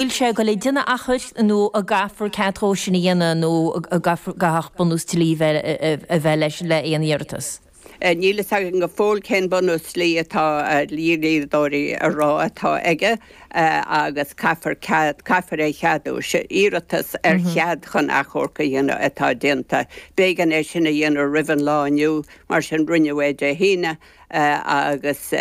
Bhfuil sé ag dul ag déanamh achomhairc nó an gcaithfear cead dhó sin a dhéanamh nó an gcaithfeadh bunús dlí a bheith leis le aon iarratas? Níl fhios againn go fóill cén bunús dlí atá dlíodóirí a rá atá aige agus caithfear cead, caithfear é a cheadú. Iarratas ar chead chun achomharc a dhéanamh atá déanta. B'éigean é sin a dhéanamh roimh an lá inniu, mar sin rinneadh é Dé hAoine agus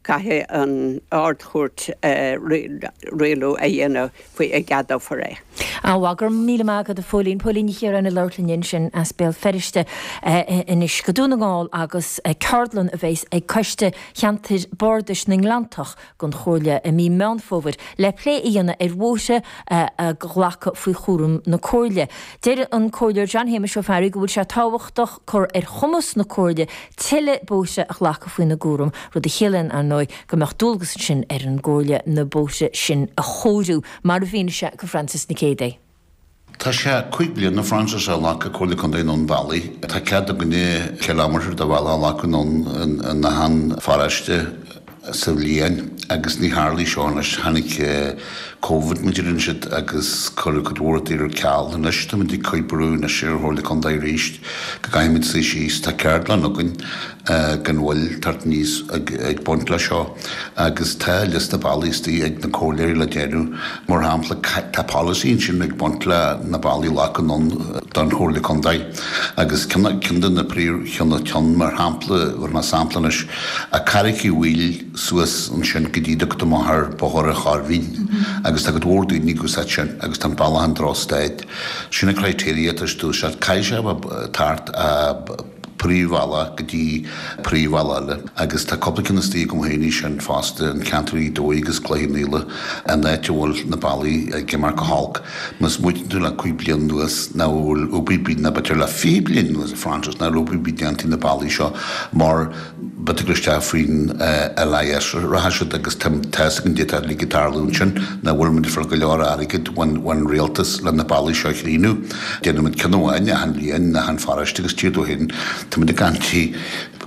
Caithfidh an Ard-Chúirt rialú a dhéanamh faoi an gceadófar é. An-mhaith, go raibh míle maith agat a Phóilín. Póilín Ní Chiaráin ag labhairt linn ansin as Béal Feirste anois go Dún na nGall agus ceardlann a bheas ag Coiste Cheantair Bardais na nGleanntach den Chomhairle i mí Meán Fómhair le plé a dhéanamh ar bhóithre a ghlacadh faoi chúram na Comhairle. Deir an Comhairleoir John Shéamais Ó Fearraigh go bhfuil sé tábhachtach cur ar chumas na Comhairle tuilleadh bóithre a ghlacadh faoina gcúram, rud a chiallaíonn, ar ndóigh, go mbeadh dualgas ansin ar an gComhairle na bóithre sin a chóiriú, mar a mhínigh sé go Frances Nic Géadaigh. Tá sé 5 bliana, Frances, ó ghlac an Comhairle Contae anonn bealaí. Tá cead againne kilometre de bhealach a ghlacadh anonn in achan pharóiste sa bhliain agus ní tharlaigh seo anois. Tháinig Covid mar a deireann siad agus cuireadh cuid mhór rudaí ar ceal. Anois táimid ag cur brú anois ar an Chomhairle Contae arís go gcaithfimid suí síos. Tá ceardlann againn gan mhoill teacht aníos ag baint leis seo agus tá liosta bealaí istigh ag na comhairleoirí le déanamh. Mar shampla, tá polasaí ansin ag baint le na bealaí a ghlacadh anonn don Chomhairle Contae agus ceann de na príomhcheann ceann mar shampla, bhfuair mé sampla anois, a Carraig Uí Bhaoill suas ansin go dtí dtugtar amach ar Bhóthar an Choirbhín agus tá cuid mhór daoine ag úsáid sin agus tá an bealach in drochstaid. Sin an criteria atá istigh, caithfidh sé a bheith thart a. príomhbhealach go dtí príomhbhealach eile agus tá cúpla ceann istigh agam féin ansin fosta, an ceantar Ghaoth Dobhair agus Cloich Cheann Fhaola, an áit a bhfuil na bealaí ag imeacht go holc. Más smaoitíonn tú le 5 bliana anuas nach bhfuil obair ar bith, nó b'fhéidir le 20 bliain anuas, a Frances, nach bhfuil obair ar bith déanta ar na bealaí seo mar b'fhéidir gur isteach faoin LIS a rachaidh siad agus tá fhios againn caidé atá ag tarlú ansin, nach bhfuil muid ag fáil go leor airgid ón rialtas le na bealaí seo a chríochnú. Déanaimid ceann amháin achan bhliain in achan pharóiste agus tír dó féin táimid ag caint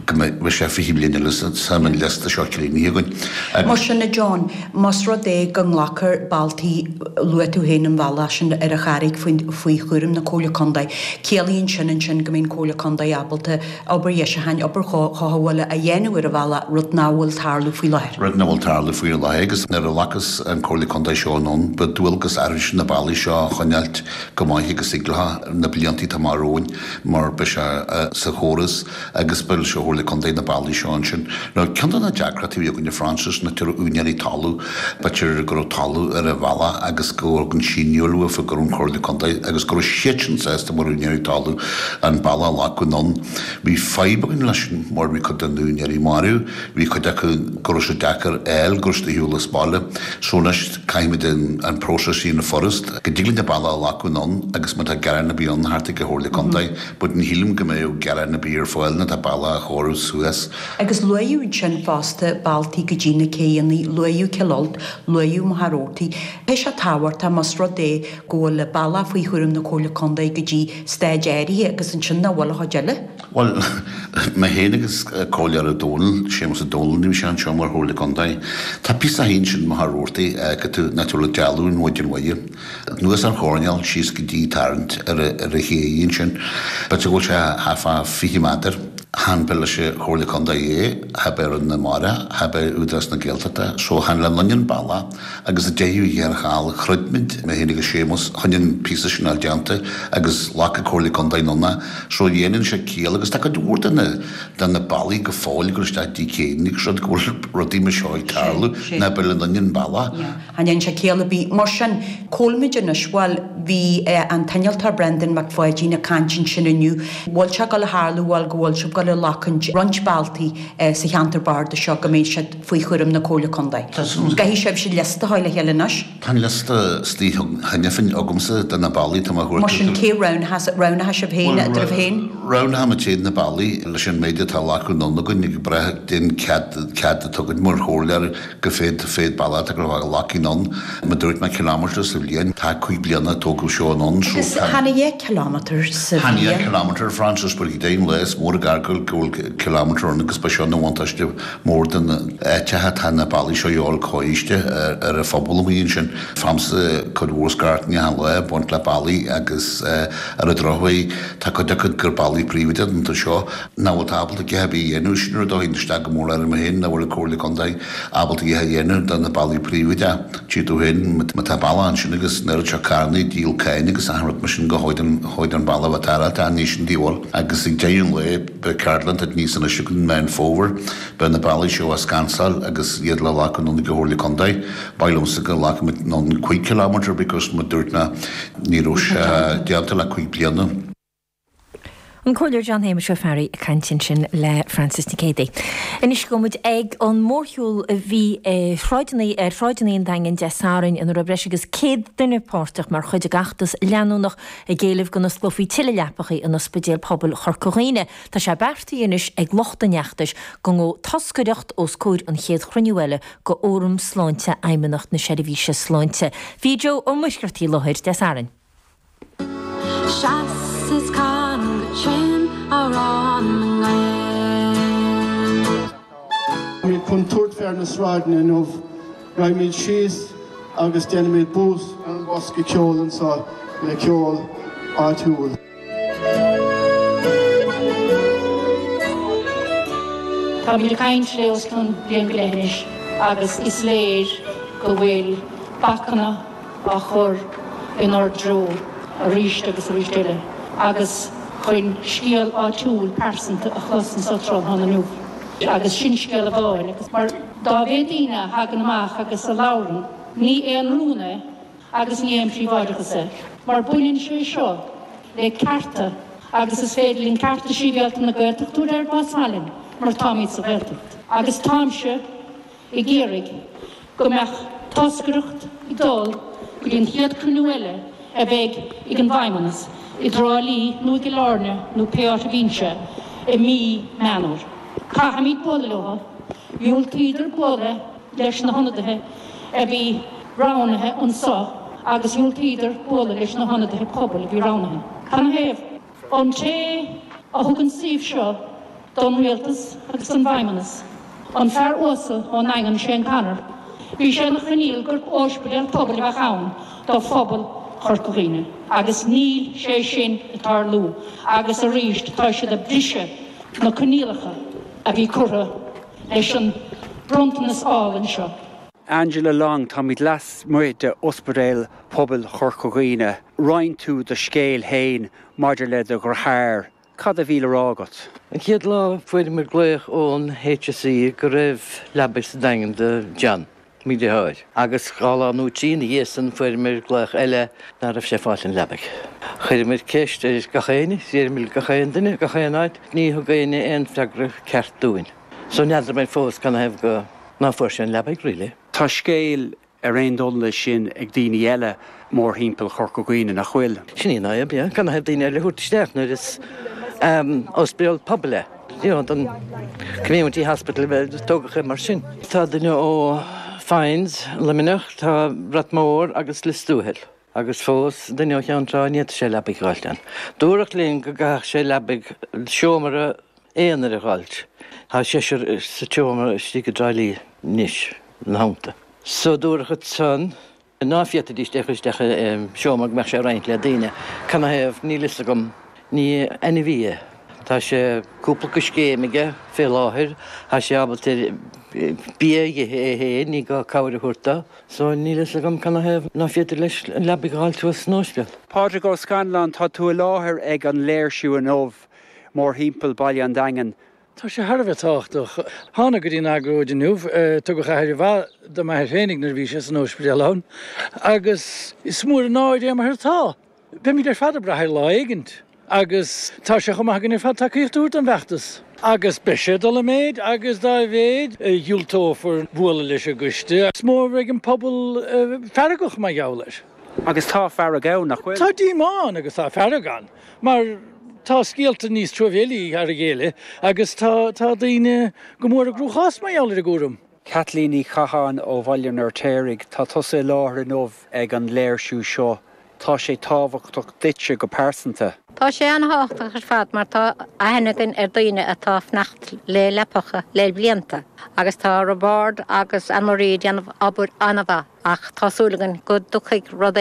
go mbeidh sé 20 bliain eile sula mbeidh an liosta seo críochnaithe againn. Mar sin a John, más rud é go nglacfar bealtaí, luaigh tú féin an bealach sin ar an Charraig faoi chúram na Comhairle Contae, ciallaíonn sin ansin go mbeidh an Comhairle Contae ábalta obair dheisiúcháin, obair chothabhála a dhéanamh ar an bhealach, rud nach bhfuil tarlú faoi láthair. Rud nach bhfuil tarlú faoi láthair agus nuair a ghlacas an Comhairle Contae seo anonn, ba dualgas orainn na bealaí seo a choinneáilt go maith agus thig leo na blianta atá amach romhainn mar beidh sé sa chóras agus beidh leis an Chomhairle Contae na bealaí seo ansin. Now ceann de na deacrachtaí a bhí againne Frances ná go raibh úinéirí talamh, b'fhéidir go raibh talamh ar an bhealach agus go raibh an síniú uafa go raibh an Chomhairle Contae agus go raibh siadsan sásta mar úinéirí talamh an bealach a ghlacadh anonn. Bhí fadhb againn leis sin mar bhí cuid de na úinéirí marbh, bhí cuid acu go raibh sé deacair a fháil go raibh siad ar shiúl as baile. So anois caithfimid an próiseas a dhéanamh furast go dtig linn an bealach a ghlacadh anonn agus má tá gearán ar bith ann thart ag an Chomhairle Contae but ní shílim go mbeadh gearán ar bith ar fáil nuair atá bealach á chóiriú suas. Agus luaíodh ansin fosta bealtaí go dtí na céidheanna, luaíodh Cill Ailt, luaíodh Machaire Rabhartaigh. Tá sé tábhachtach más rud é go bhfuil an bealach faoi chúram na Comhairle Contae go dtí staid áirithe agus ansin nach bhfuil an chuid eile. Bhuel, mé féin agus Comhairleoir Ó Dónaill, Séamus Ó Dónaill, ní bhí sé anseo mar Chomhairle Contae. Tá píosa féin sin Machaire Rabhartaigh, go tú, nach bhfuil ag dealú an Mhaighdean Mhuire. Anuas an choirnéal síos go dtí tarraingt ar a chéidh ansin. B'fhéidir go bhfuil sé thart fá 20 méadar. Chan bith leis an Chomhairle Contae é, cha bith ar na Mara, cha bith Údarás na Gaeltachta, so chan le linn an bealach agus a deicheadh thiar thall throid muid, mé féin agus Séamus, chun an píosa sin a fháil déanta agus ghlac an Comhairle Contae anonn é. So dhéanann sé ciall agus tá cuid mhór de na de na bealaí go fóill ag dul isteach dtí céanna agus rud go bhfuil rudaí mar seo ag tarlú ná beidh le linn an bealach. Chan dhein sé ciall ar bith. Mar sin, cá bhfuilimid anois? Bhuel, bhí an t-innealtóir Brendan Mac Pháidín ag caint ansin inniu. Bhfuil sé ag dul a tharlú, bhuel, go bhfuil sibh ag dul a ghlacaint roinnt bealtaí sa cheantar bardais seo go mbeidh siad faoi chúram na Comhairle Contae. Caithfidh sibhse liosta a chur le chéile anois. Tá an liosta istigh cheana féin agamsa de na bealaí atá mé a thabhairt. Mar sin, cé roghnóidh sibh féin eadraibh féin? Roghnóidh muid féin na bealaí leis an méid atá glactha anonn againn ag brath den cead atá againn mar chomhairleoir go féad féad bealach atá go ghlacfaidh anonn. Mar dúirt mé kilometre sa bhliain. Tá 5 bliana tógadh seo anonn so Agus tá. Chan é 10 kilometre sa Chan é 10 bhliain. kilometre Frances but go deimhin lá is mór an gar go. fhágáil go bhfuil kilometre ann agus ba seo ina bhuntáiste mór do na áiteacha atá na bealaí seo a dhíobháil coláiste ar an phobal amuigh ansin. Faighimse cuid mhór scairteanna achan lá ag baint le bealaí agus ar an drochuair tá cuid acu gur bealaí príobháideacha iontu seo nach bhfuil tú ábalta a dhath ar bith a dhéanamh. Sin rud a théann isteach go mór orm féin nach bhfuil an Comhairle Contae ábalta a dhath a dhéanamh do na bealaí príobháideacha. Tchí tú féin má tá bealach ansin agus an oiread seo carranna ag díol cáin agus achan rud mar sin go háid an bealach a bheith tarrtháilte ach ní sin díobháil agus ag deireadh an lae beidh ceardlann tá níos anois againn Meán Fómhair beidh na bealaí seo á scansáil agus iad le glacadh anonn ag an Chomhairle Contae. Ba mhaith liomsa go nglacfaimid anonn 5 kilometre because mar dúirt mé ní raibh sé déanta le 5 bliana. An Comhairleoir John Shéamais Ó Fearraigh ag caint ansin le Frances Nic Géadaigh. Anois gabhfaidh muid ag an mórshiúl a bhí ar shráideanna ar shráideanna an Daingin Dé Sathairn ina raibh breis agus 100 duine páirteach mar chuid den fheachtas leanúnach ag éileamh go n-osclófaí tuilleadh leapachaí in Ospidéal Pobail Chorca Dhuibhne. Tá sé beartaithe anois ag lucht an fheachtais go ngabhfaidh toscaireacht os comhair an chéad chruinniú eile de Fhóram Sláinte Fheidhmeannacht na Seirbhíse Sláinte. Bhí Joe Ó Muircheartaigh i láthair Dé Sathairn. Seas is can go tréan amhrán na nGael. Táimid chun tabhairt fé ar na sráideanna inniu. Raghaimid síos agus déanfaimid bús ar an bhosca ceoil anseo le ceol áitiúil. Táimid ag caint le os cionn bliain go leith anois agus is léir go bhfuil bacanna á chur inár dtreo arís agus arís eile agus chun scéal áitiúil pearsanta a chlos anso tráthnóna inniu agus sin scéal amháin agus mar dá mhéad daoine a thagann amach agus a labhrann ní aon rún é agus ní aon phríobháideachas é mar baineann sé seo le cearta agus is féidir linn cearta sibhialta na Gaeltachta a thabhairt air más maith linn mar táimid sa Ghaeltacht agus táimse ag iarraidh go mbeadh toscaireacht ag dul go dtí an chéad cruinniú eile a bheidh ag an bhFeidhmeannas i dTrá Lí nó i gCill Airne nó pé áit a bhíonn sé i mí Meán Fhómhair. Caithfimid bualadh leo. Dhiúltaíodar bualadh leis na hionadaithe a bhí roghnaithe anso agus dhiúltaíodar bualadh leis na hionadaithe pobail a bhí roghnaithe. Canathaobh? An té a thug an suíomh seo don Rialtas agus don bhFeidhmeannas, an fear uasal ón nDaingean, Shane Connor, bhí sé ina choinníoll gur óispidéal pobail a bheadh ann do phobal Chorca Dhuibhne agus níl sé sin ag tarlú agus arís tá siad ag briseadh na coinníollacha a bhí curtha leis an bronntanas álainn seo. Angela Long, táimid lasmuigh de Ospidéal Pobail Chorca Dhuibhne. Roinn tú do scéal féin maidir le do dheartháir. Cad a bhí le rá agat? An chéad lá fuaireamar glaoch ón HSE go raibh leabaidh sa Daingean do John, mo dheartháir, agus dhá lá nó trí ina dhiaidh san fuaireamar glaoch eile ná raibh sé ag fáilt an leabaidh. Chuireamar ceist ar gach éinne, d'iarramar gach aon duine, gach aon áit, ní thug éinne aon freagra ceart dúinn. So n'fheadar mé fós canathaobh go ná fuair sé an leabaidh really. Tá scéal ar aon dul leis sin ag daoine eile mórthimpeall Chorca Dhuibhne, nach bhfuil? Sin í an fhadhb, yeah. Canathaobh daoine eile a thabhairt isteach nuair is ospidéal pobail é? You know, don community hospital a bheith tógadh é mar sin. Tá duine ó Foynes, Luimneach, tá Ráth Mór agus Lios Tuathail. Agus fós, duine ó Cheann Trá, ní fhéadfadh sé leabaidh a dh'fháilt ann. Dúradh linn go gcaithfeadh sé leabaidh seomra aonair a dh'fháilt. Tá seisear sa tseomra istigh i dTrá Lí anois, ina theannta. So dúradh ansan ná féadfaidís é a chur isteach i seomra go mbeadh sé ag roinnt le daoine. Canathaobh, níl fhios agam. Ní ainmhí é. Tá sé cúpla coiscéim aige fé láthair. Tá sé ábalta bia a dh'ithe é féin, ní gá cabhair a thabhairt dó. So níl fhios agam canathaobh ná féidir leis an leabaidh a dh'fháilt thuas san óispidéal. Pádraig Ó Scanláin, tá tú i láthair ag an léirsiú inniu mórthimpeall Baile an Daingin. Tá sé thar a bheith tábhachtach. Thánag go dtí an agóid inniu. Tugadh aire mhaith do m'athair féinig nuair a bhí sé san óispidéal ann agus is mór an náire é mar atá. Beimid ar fad ag brath air lá éigint agus tá sé chomh maith againn ar fad tacaíocht a thabhairt don bhfeachtas. Agus beidh sé ag dul i méid agus dá mhéid a dhiúltófar bualadh leis an gcoiste, is mó a bheidh an pobal feargach mar gheall air. Agus tá fearg ann, nach bhfuil? Tá díomá ann agus tá fearg ann mar tá scéalta níos truamhéilí thar a chéile agus tá daoine go mór i gcruachás mar gheall ar an gcúram. Caitlín Ní Chatháin ó Bhaile an Fheirtéaraigh, tá tusa i láthair inniu ag an léirsiú seo. Tá sé tábhachtach duitse go pearsanta. Tá sé an-thábhachtach ar fad mar tá aithne againn ar daoine atá ag fanacht le leapacha le blianta agus tá Roibeárd agus Anne Marie ag déanamh obair an-mhaith ach tá súil againn go dtiocfaidh rud.